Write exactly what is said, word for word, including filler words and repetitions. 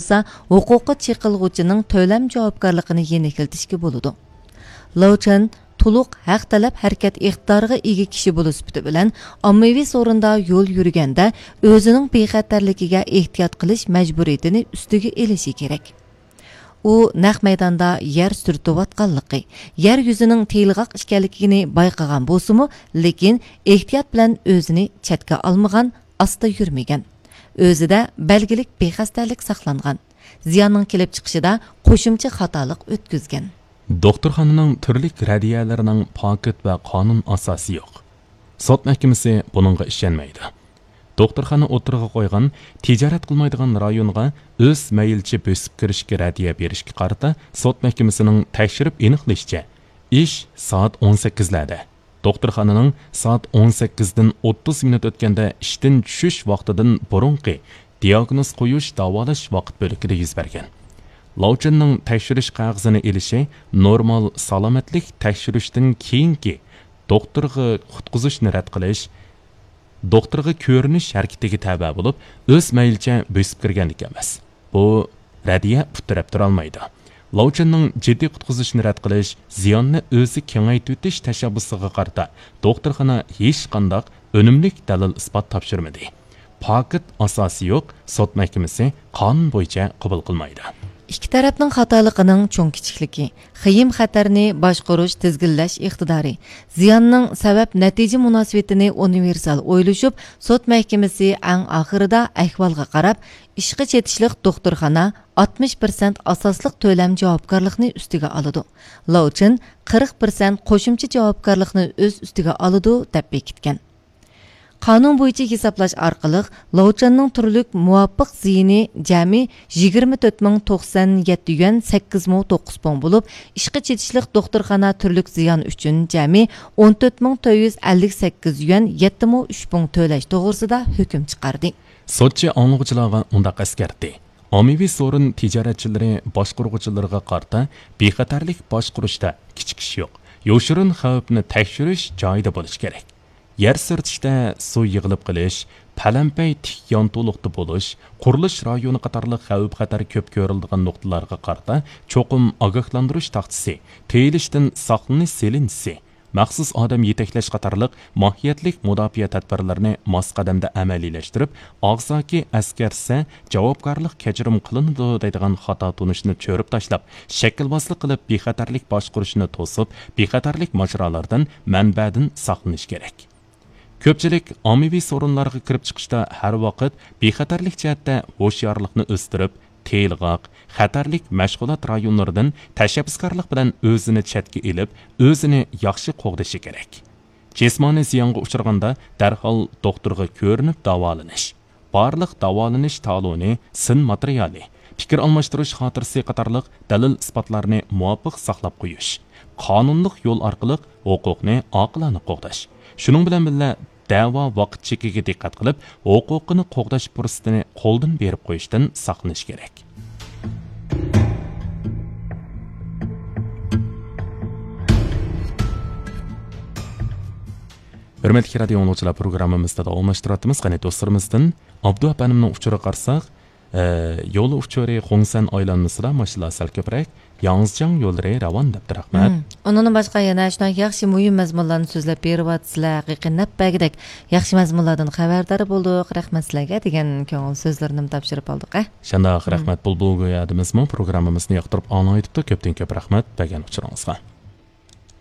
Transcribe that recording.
بولسا، ھوقۇققا چېقىلغۇچىنىڭ تۆلەم جاۋابكارلىقىنى يېنىكلىتىشكە بولىدۇ. لو چېن تولۇق ھەق تەلەپ ھەرىكەت ئىقتىدارىغا ئىگە كىشى بولۇش سۈپىتى بىلەن، ئاممىۋى سورۇندا يول يۈرگەندە ئۆزىنىڭ بىخەتەرلىكىگە ئېھتىيات قىلىش مەجبۇرىيىتىنى ئۈستىگە ئېلىشى كېرەك. ئۇ نەق مەيداندا يەر سۈرتۈۋاتقانلىقى، يەر يۈزىنىڭ تېيىلغاق ئىكەنلىكىنى بايقىغان بولسىمۇ، لېكىن ئېھتىيات بىلەن ئۆزىنى چەتكە ئالمىغان، ئاستا يۈرمىگەن. ئۆزىدە بەلگىلىك بىخەستەلىك ساقلانغان. زىياننىڭ كېلىپ چىقىشىدا قوشۇمچە خاتالىق ئۆتكۈزگەن. دوختۇرخانىنىڭ تۈرلۈك رەددىيەلىرىنىڭ پاكىت ۋە قانۇن ئاساسى يوق. سوت مەھكىمىسى بۇنىڭغا ئىشەنمەيدۇ. دوختۇرخانا ئوتتۇرىغا قويغان تىجارەت قىلمايدىغان رايونغا ئۆز مەيلىچە بۆسۈپ كىرىشكە رەددىيە بېرىشكە قارىتا سوت مەھكىمىسىنىڭ تەكشۈرۈپ ئېنىقلىشىچە، ئىش سائەت ئون سەككىزلەردە، دوختۇرخانىنىڭ سائەت ئون سەككىزدىن ئوتتۇز مىنۇت ئۆتكەندە ئىشتىن چۈشۈش ۋاقتىدىن بۇرۇنقى دىئاگنوز قويۇش، داۋالاش ۋاقىت بۆلىكىدە يۈز بەرگەن. لاۋچىننىڭ تەكشۈرۈش قەغىزىنى ئېلىشى نورمال سالامەتلىك تەكشۈرۈشتىن كېيىنكى دوختۇرغا قۇتقۇزۇشنى رەت قىلىش، دوختۇرغا كۆرۈنۈش ھەرىكىتىگە تەۋە بولۇپ، ئۆز مەيلىچە بۆسۈپ كىرگەنلىك ئەمەس. بۇ رەددىيە ئۇتتۇرەپ تۇرالمايدۇ. لاۋچىننىڭ جىددىي قۇتقۇزۇشنى رەت قىلىش، زىياننى ئۆزى كېڭەيتىۋېتىش تەشەببۇسىغا قارىتا دوختۇرخانا ھېچقانداق ئۈنۈملۈك دەلىل-ئىسپات تاپشۇرمىدى. پاكىت ئاساسى يوق، سوت مەھكىمىسى قانۇن بويىچە قوبۇل قىلمايدۇ. ئىككى تەرەپنىڭ خاتالىقىنىڭ چوڭ-كىچىكلىكى، خېيىم-خەتەرنى باشقۇرۇش، تىزگىنلەش ئىقتىدارى، زىياننىڭ سەۋەب-نەتىجە مۇناسىۋىتىنى ئۇنىۋېرسال ئويلىشىپ، سوت مەھكىمىسى ئەڭ ئاخىرىدا ئەھۋالغا قاراپ، ئىشقا چېتىشلىق دوختۇرخانا ئاتمىش پىرسەنت ئاساسلىق تۆلەم جاۋابكارلىقىنى ئۈستىگە ئالىدۇ. لاۋچىن قىرىق پىرسەنت قوشۇمچە جاۋابكارلىقنى ئۆز ئۈستىگە ئالىدۇ، دەپ بېكىتكەن. قانۇن بويىچە ھېسابلاش ئارقىلىق، لاۋچىننىڭ تۈرلۈك مۇۋاپىق زىيىنى جەمئىي يىگىرمە تۆت مىڭ توقسان يەتتە يۈەن سەككىز مو توققۇز پۇڭ بولۇپ، ئىشقا چېتىشلىق دوختۇرخانا تۈرلۈك زىيان ئۈچۈن جەمئىي ئون تۆت مىڭ تۆت يۈز ئەللىك سەككىز يۈەن يەتتە مو ئۈچ پۇڭ تۆلەش توغرىسىدا ھۆكۈم چىقاردى. سوتچى ئاڭلىغۇچىلارغا مۇنداق ئەسكەرتتى: ئاممىۋى سورۇن تىجارەتچىلىرى باشقۇرغۇچىلىرىغا قارىتا بىخەتەرلىك باشقۇرۇشتا كېچىكىش يوق. يوشۇرۇن خەۋپنى تەكشۈرۈش جايىدا بولۇشى كېرەك. يەر سۈرتۈشتە سۇ يىغىلىپ قېلىش، پەلەمپەي تىك يانتۇلۇقتا بولۇش، قۇرۇلۇش رايونى قاتارلىق خەۋپ-خەتەر كۆپ كۆرۈلىدىغان نۇقتىلارغا قارىتا چوقۇم ئاگاھلاندۇرۇش تاختىسى، تېيىلىشتىن ساقلىنىش سېلىنچىسى، مەخسۇس ئادەم يېتەكلەش قاتارلىق ماھىيەتلىك مۇداپىئە تەدبىرلىرىنى ماس قەدەمدە ئەمەلىيلەشتۈرۈپ، ئاغزاكى ئەسكەرتسە، جاۋابكارلىق كەچۈرۈم قىلىنىدۇ دەيدىغان خاتا تونۇشنى چۆرۈپ تاشلاپ، شەكىلۋازلىق قىلىپ بىخەتەرلىك باشقۇرۇشنى توسۇپ، بىخەتەرلىك ماجىرالاردىن، مەنبەدىن ساقلىنىش كېرەك. كۆپچىلىك ئاممىۋى سورۇنلارغا كىرىپ چىقىشتا ھەر ۋاقىت بىخەتەرلىك جەھەتتە ھوشيارلىقنى ئۆستۈرۈپ، تېيىلغاق، خەتەرلىك مەشغۇلات رايونلىرىدىن تەشەببۇسكارلىق بىلەن ئۆزىنى چەتكە ئېلىپ، ئۆزىنى ياخشى قوغدىشى كېرەك. جىسمانىي زىيانغا ئۇچرىغاندا دەرھال دوختۇرغا كۆرۈنۈپ داۋالىنىش، بارلىق داۋالىنىش تالونى، سىن ماتېرىيالى، پىكىر ئالماشتۇرۇش خاتىرىسى قاتارلىق دەلىل-ئىسپاتلارنى مۇۋاپىق ساقلاپ قويۇش، قانۇنلۇق يول ئارقىلىق ھوقۇقنى ئاقىلانە قوغداش، شۇنىڭ بىلەن بىللە، دەۋا ۋاقىت چېكىگە دىققەت قىلىپ، ھوقۇقىنى قوغداش پۇرسىتىنى قولدىن بېرىپ قويۇشتىن ساقلىنىش كېرەك. ھۆرمەتلىك رادىيو ئاڭلىغۇچىلار، پروگراممىمىزدا داۋاملاشتۇرۇۋاتىمىز. قېنى دوستلىرىمىزدىن ئابدۇ ئەپەندىمنىڭ ئۇچۇرىغا قارىساق، ئە، يول ئۇچۇرى خۇڭسەن ئايلانمىسىدا ماشىنىلار سەل كۆپرەك، ياڭزىجياڭ يوللىرى راۋان دەپتۇ. رەھمەت. مم. ئۇنىڭدىن باشقا يەنە شۇنداق ياخشى مۇھىم مەزمۇنلارنى سۆزلەپ بېرىۋاتىسىلەر، ھەقىقىي نەپ بەرگۈدەك ياخشى مەزمۇنلاردىن خەۋەردار بولدۇق، رەھمەت سىلەرگە دېگەن كۆڭۈل سۆزلىرىنىمۇ تاپشۇرۇپ ئالدۇق، ھە؟ شۇنداق، مم. رەھمەت. بۇلبۇل گويادىمىزمۇ پروگراممىمىزنى ياقتۇرۇپ ئاڭلايدىپتۇ، كۆپتىن كۆپ رەھمەت بەرگەن ئۇچۇرىڭىزغا.